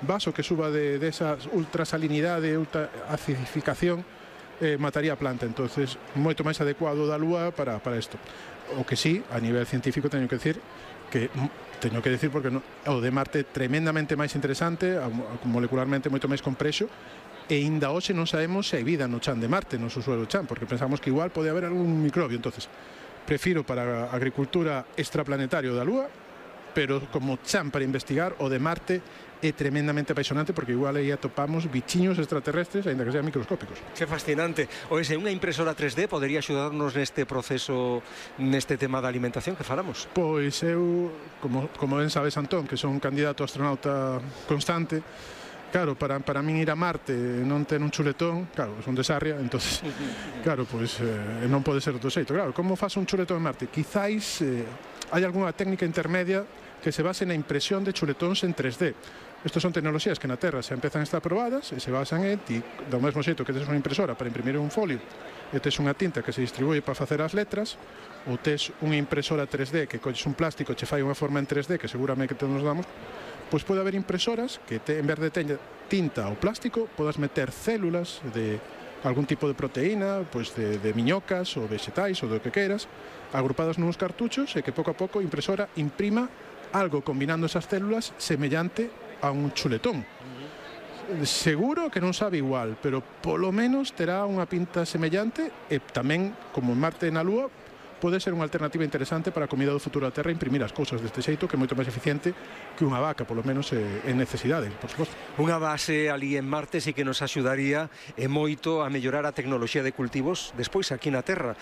vaso que suba de esa ultrasalinidade, ultra acidificación, mataría a planta. Entonces, moito máis adecuado da Lúa para isto. O que sí, a nivel científico teño que decir porque o de Marte é tremendamente máis interesante, molecularmente moito máis complexo, e ainda hoxe non sabemos se hai vida no chan de Marte, no subsuelo chan, porque pensamos que igual pode haber algún microbio. Entonces, prefiro para a agricultura extraplanetario da Lúa, pero como chan para investigar, o de Marte é tremendamente apaixonante, porque igual aí atopamos bichiños extraterrestres, aínda que sean microscópicos. Que fascinante. Oese, unha impresora 3D podería axudarnos neste proceso, neste tema da alimentación que falamos? Pois eu, como ben sabes, Antón, que son un candidato a astronauta constante, claro, para min ir a Marte e non ter un chuletón, claro, son de Sarria, entonces, claro, pois non pode ser outro xeito. Claro, como faz un chuletón en Marte? Quizáis hai algunha técnica intermedia que se base na impresión de chuletóns en 3D. Estas son tecnoloxías que na Terra se empezan a estar probadas e se basan en ti, do mesmo xeito que tes unha impresora para imprimir un folio e tes unha tinta que se distribuye para facer as letras, ou tes unha impresora 3D que colles un plástico e che fai unha forma en 3D que seguramente que todos nos damos, pois pode haber impresoras que en vez de tinta ou plástico podas meter células de algún tipo de proteína, pois de miñocas ou vegetais ou do que queiras, agrupadas nuns cartuchos, e que pouco a pouco a impresora imprima algo combinando esas células semellante a un chuletón. Seguro que non sabe igual, pero polo menos terá unha pinta semellante, e tamén, como en Marte e na Lúa, pode ser unha alternativa interesante para a comida do futuro da Terra, imprimir as cousas deste xeito, que é moito máis eficiente que unha vaca, polo menos en necesidade, por suposto. Unha base ali en Marte sí que nos axudaría moito a mellorar a tecnoloxía de cultivos despois aquí na Terra.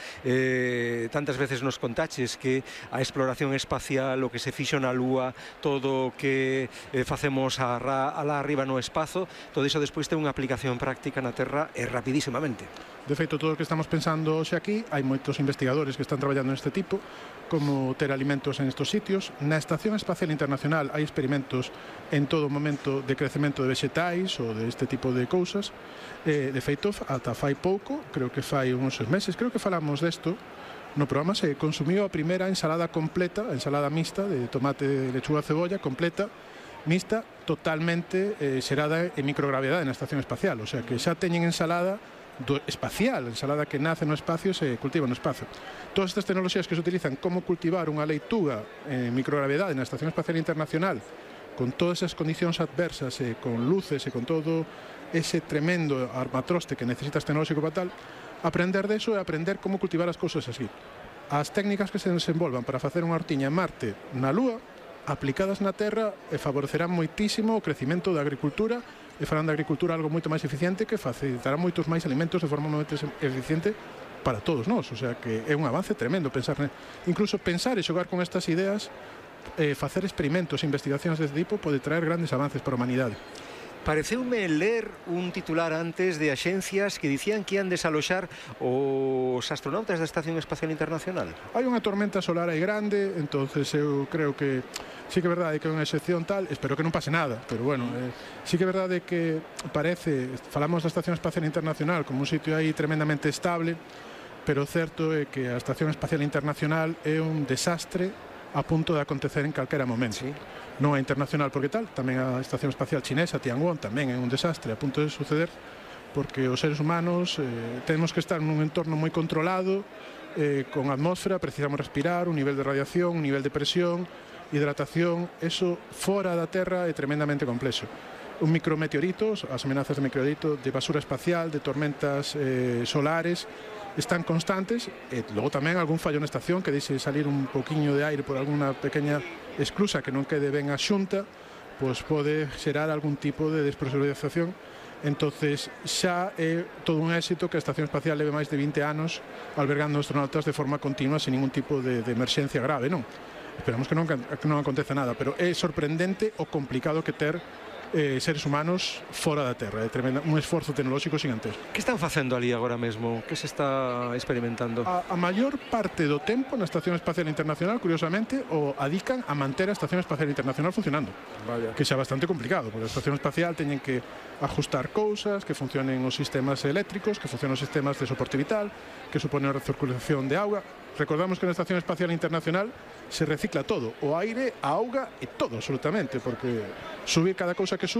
Tantas veces nos contaches que a exploración espacial, o que se fixo na Lúa, todo o que facemos alá arriba no espazo, todo iso despois ten unha aplicación práctica na Terra rapidísimamente. De feito, todo o que estamos pensando hoxe aquí, hai moitos investigadores que están traballando neste tipo, como ter alimentos en estos sitios. Na Estación Espacial Internacional hai experimentos en todo momento de crecemento de vegetais ou de este tipo de cousas. De feito, ata fai pouco, creo que fai uns meses, creo que falamos desto, no programa se consumiu a primeira ensalada completa, a ensalada mixta de tomate, lechuga, cebolla, completa, mixta, totalmente xerada en microgravidade na Estación Espacial. O sea, que xa teñen ensalada espacial, ensalada que nace no espacio e se cultiva no espacio. Todas estas tecnoloxías que se utilizan como cultivar unha leituga en microgravidade na Estación Espacial Internacional, con todas esas condicións adversas, con luces e con todo ese tremendo armatroste que necesitas tecnolóxico para tal, aprender deso é aprender como cultivar as cousas así. As técnicas que se desenvolvan para facer unha hortiña en Marte, na Lúa, aplicadas na Terra, favorecerán moitísimo o crecimento da agricultura e farán da agricultura algo moito máis eficiente, que facilitará moitos máis alimentos de forma moito eficiente para todos nós. O sea que é un avance tremendo pensar, incluso pensar e xogar con estas ideas, facer experimentos e investigacións deste tipo pode traer grandes avances para a humanidade. Pareceume ler un titular antes de axencias que dicían que ian desaloxar os astronautas da Estación Espacial Internacional. Hai unha tormenta solar aí grande, entonces eu creo que sí que é verdade que é unha excepción tal, espero que non pase nada, pero bueno, sí que é verdade que parece, falamos da Estación Espacial Internacional como un sitio aí tremendamente estable, pero o certo é que a Estación Espacial Internacional é un desastre a punto de acontecer en calquera momento. Sí. Non a internacional porque tal, tamén a Estación Espacial Chinesa, Tiangong, tamén é un desastre a punto de suceder, porque os seres humanos temos que estar nun entorno moi controlado, con atmósfera, precisamos respirar, un nivel de radiación, un nivel de presión, hidratación, eso fora da Terra é tremendamente complexo. Un micrometeoritos, as amenazas de meteorito, de basura espacial, de tormentas solares, están constantes, e logo tamén algún fallo na estación que deixe salir un poquinho de aire por alguna pequena esclusa que non quede ben a xunta, pois pode xerar algún tipo de despresurización. Entonces xa é todo un éxito que a Estación Espacial leve máis de 20 anos albergando astronautas de forma continua sin ningún tipo de emerxencia grave, non? Esperamos que non aconteza nada, pero é sorprendente o complicado que ter seres humanos fora da Terra. É un esforzo tecnolóxico gigantesco. Que están facendo ali agora mesmo? Que se está experimentando? A maior parte do tempo na Estación Espacial Internacional, curiosamente, o adican a manter a Estación Espacial Internacional funcionando. Vaya. Que xa é bastante complicado, porque a Estación Espacial teñen que ajustar cousas, que funcionen os sistemas eléctricos, que funcionen os sistemas de soporte vital, que supone a recirculación de auga. Recordamos que na Estación Espacial Internacional se recicla todo, o aire, a auga e todo, absolutamente, porque subir cada cousa que sube